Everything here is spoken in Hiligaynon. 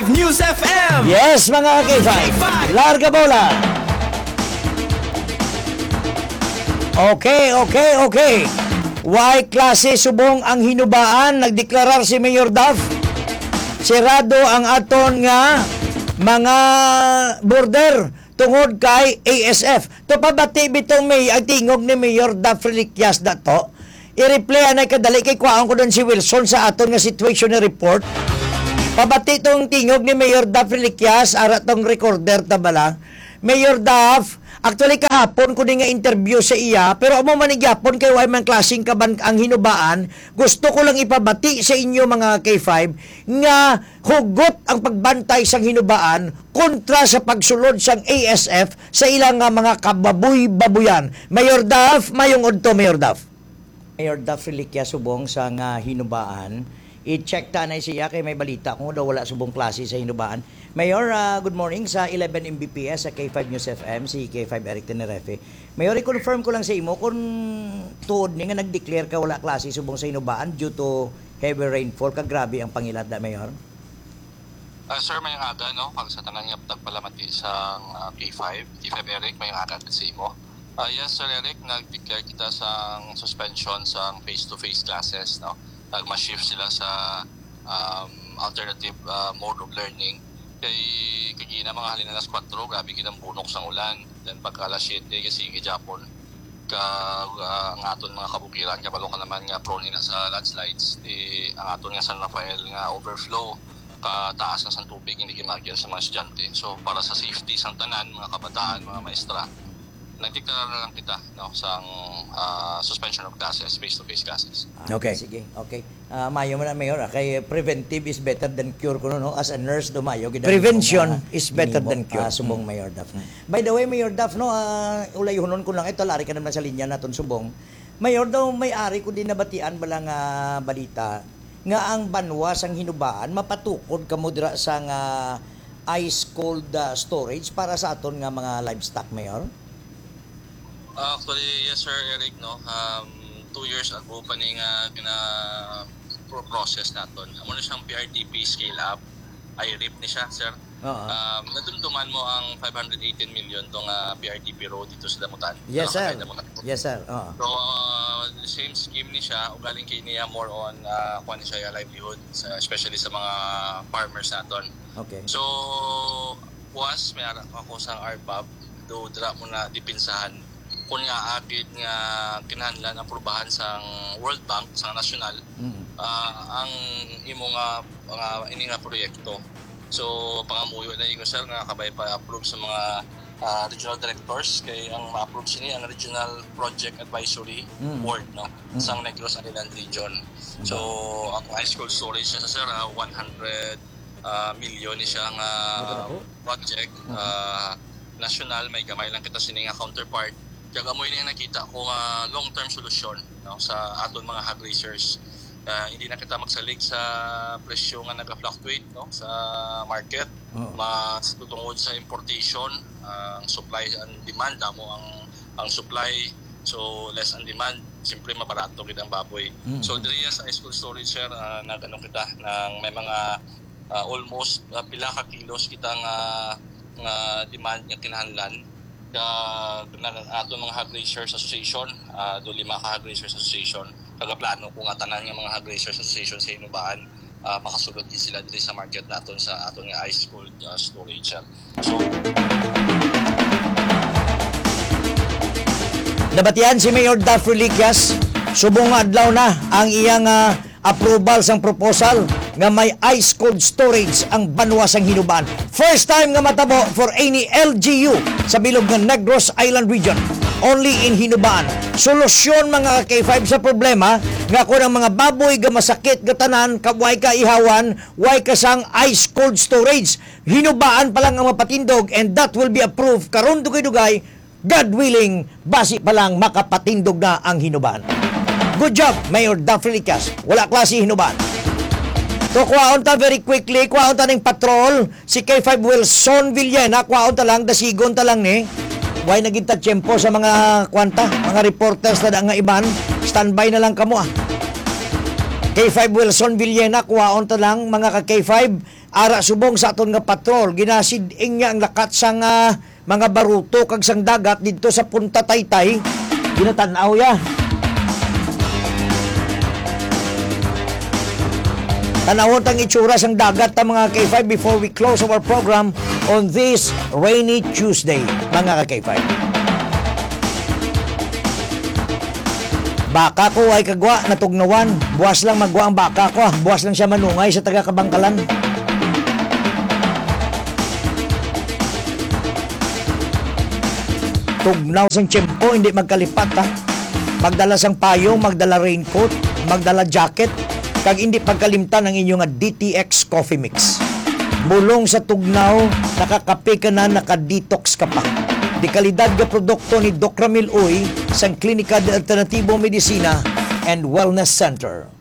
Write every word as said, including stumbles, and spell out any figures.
News F M. Yes, mga ka-K five. Larga bola. Okay, okay, okay. Way klase subong ang Hinubaan, nagdeklarar si Mayor Duff. Sirado ang aton nga mga border tungod kay A S F. To pabati bitaw may ang tingog ni Mayor Duff Reliquias dato. I-replay anay kadali kay kwaon ko din si Wilson sa aton nga situation report. Pabati tong tingog ni Mayor Duff Reliquias, ara tong recorder ta bala. Mayor Duff, actually kahapon ko din nga interview sa iya, pero amo man ni gyapon kay way man klaseng kaban ang Hinubaan. Gusto ko lang ipabati sa inyo, mga K five, nga hugot ang pagbantay sang Hinubaan kontra sa pagsulod sang A S F sa ilang nga mga kababoy-baboyan. Mayor Duff, mayong udto, Mayor Duff. Mayor Duff Reliquia subong sa nga Hinubaan. I-check ta na siya kay may balita kung daw wala subong klase sa Hinubaan. Mayor, ah, good morning sa eleven M B P S sa K five News F M, si K five Eric Tenerefe. Mayor, i-confirm ko lang sa imo kung tuod ni nga nag-declare ka wala klase subong sa Hinubaan due to heavy rainfall, ka grabe ang pangilad da, Mayor? Ah, sir, mayong aga, no? Kag sa tanan nga tagpalamati sa, ah, K five, K five Eric, mayong aga sa imo. Ah, yes, Sir Eric, nag-declare kita sang suspension sang face-to-face classes, no? Nag-shift sila sa, um, alternative, ah, mode of learning. Kay kagina mga halin alas kuwatro, grabe gid ang bunok sang ulan. Then pagka alas siyete, sige gyapon. Ka, ah, ang aton mga kabukiran, kabalo ka naman nga prone ina sa landslides, di ang aton nga San Rafael nga overflow, kataas na sang tubig, hindi gid maagian sa mga estudyante. So, para sa safety sang tanan, mga kabataan, mga maestra, nagdeklara na lang kita, no, sang, ah, suspension of classes, face-to-face classes. Ah, okay. Sige, okay. Ah, mayo man na, Mayor, ah, kay preventive is better than cure kuno, no? As a nurse, do mayo gid ang Prevention imong, ah, is better ginimo, than cure. Ah, subong, Mm. Mayor Duff. Mm. By the way, Mayor Duff, no, ah, ulayhonon ko lang, ito, lari ka naman sa linya naton subong. Mayor, daw may ari ko din nabatian bala nga balita nga ang banwa sang Hinubaan mapatukod kamo dira sa nga ice cold, ah, storage para sa aton nga mga livestock, Mayor? Ah, actually, yes, Sir Eric, no. Um, two years ago pa ni nga gina-, pro-, process naton. Amo na siyang P R T P scale up, I R I P ni siya, sir. Oo. Um, nadumduman mo ang five hundred eighteen million tong, ah, P R T P road dito sa Damutan. Yes, Sa sir. Damutan. Yes, sir. Oo. So, ah, the same scheme ni siya, ugaling kay niya more on, ah, kuwan ni siya, livelihood, sa, especially sa mga farmers naton. Okay. So, was, may ara ako sa R B A B, do dra mo na dipinsahan. Kung nga agid nga kinahanglan aprubahan sang World Bank, sang nasyonal, Mm. ah, ang imo nga, nga ini nga proyekto. So, pangamuyo na inyo, sir, nga kabay pa approve sa mga, ah, regional directors, kay ang ma-approve sini ang Regional Project Advisory Mm. Board, no, Mm. sang Negros Island Region. So, ang ice cold storage na sa, sir, ah, one hundred, ah, milyon ni siya nga Maganda po. project, Mm. ah, national, may gamay lang kita sini nga counterpart. Kaya amoy na nakita ko nga long-term solusyon, no, sa aton mga hog raisers. Ah, hindi na kita magsalig sa presyo nga naga-fluctuate, no, sa market. Oo. Mas tutungod sa importation, ang supply and demand, damo ang, ang supply, so less ang demand, siyempre mabarato gid ang baboy. Mm. So, diri sa ice cold storage, sir, ah, nag-ano kita, nang may mga, ah, almost, ah, pila ka kilos kita nga, nga demand nga kinahanglan. Ka, na, aton mga hog raisers association, ah, do lima ka hog raisers association. Kagaplano ko nga tanan nga mga hog raisers association sa Hinubaan, ah, makasulod gid sila diri sa market naton sa aton nga ice cold, ah, storage, sir. So, Nabatian si Mayor Duff Reliquias, subong nga adlaw na ang iyang, ah, approval sang proposal nga may ice cold storage ang banwa sang Hinubaan. First time nga matabo for any L G U sa bilog nga Negros Island Region. Only in Hinubaan. Solusyon, mga ka K five, sa problema nga kung ang mga baboy nga masakit nga tanan, ka-, way kaihawan, way ka sang ice cold storage. Hinubaan pa lang ang mapatindog, and that will be approved karon dugay-dugay, God willing, basi pa lang makapatindog na ang Hinubaan. Good job, Mayor Duff Reliquias. Wala klase Hinubaan. To, kuhaon ta very quickly, kuhaon ta ning patrol, si K five Wilson Villena, kuhaon ta lang, dasigon ta lang ni. Way na gid ta tiyempo sa mga kwanta, mga reporters na da nga iban. Standby na lang kamo, ah. K five Wilson Villena, kuhaon ta lang, mga ka K five. Ara subong sa aton nga patrol, ginasid-ing niya ang lakat sang, ah, mga baruto kag sang dagat didto sa Punta Taytay. Ginatan-aw ya. Tan-awon tang itsura sang dagat ta, mga ka-K five, before we close our program on this rainy Tuesday, mga ka-K five. Baka ko ay kagwa, natugnawan. Buwas lang magwa ang baka ko, ah. Buwas lang siya manungay sa taga Kabangkalan. Tugnaw sang tiyempo, hindi magkalipat, ha. Magdala sang payong, magdala raincoat, magdala jacket, kag hindi pagkalimtan ang inyo nga D T X Coffee Mix. Bulong sa tugnaw, nakakape ka na, naka-detox ka pa. Dekalidad nga produkto ni Doc Ramil Uy sang Klinika de Alternatibo Medicina and Wellness Center.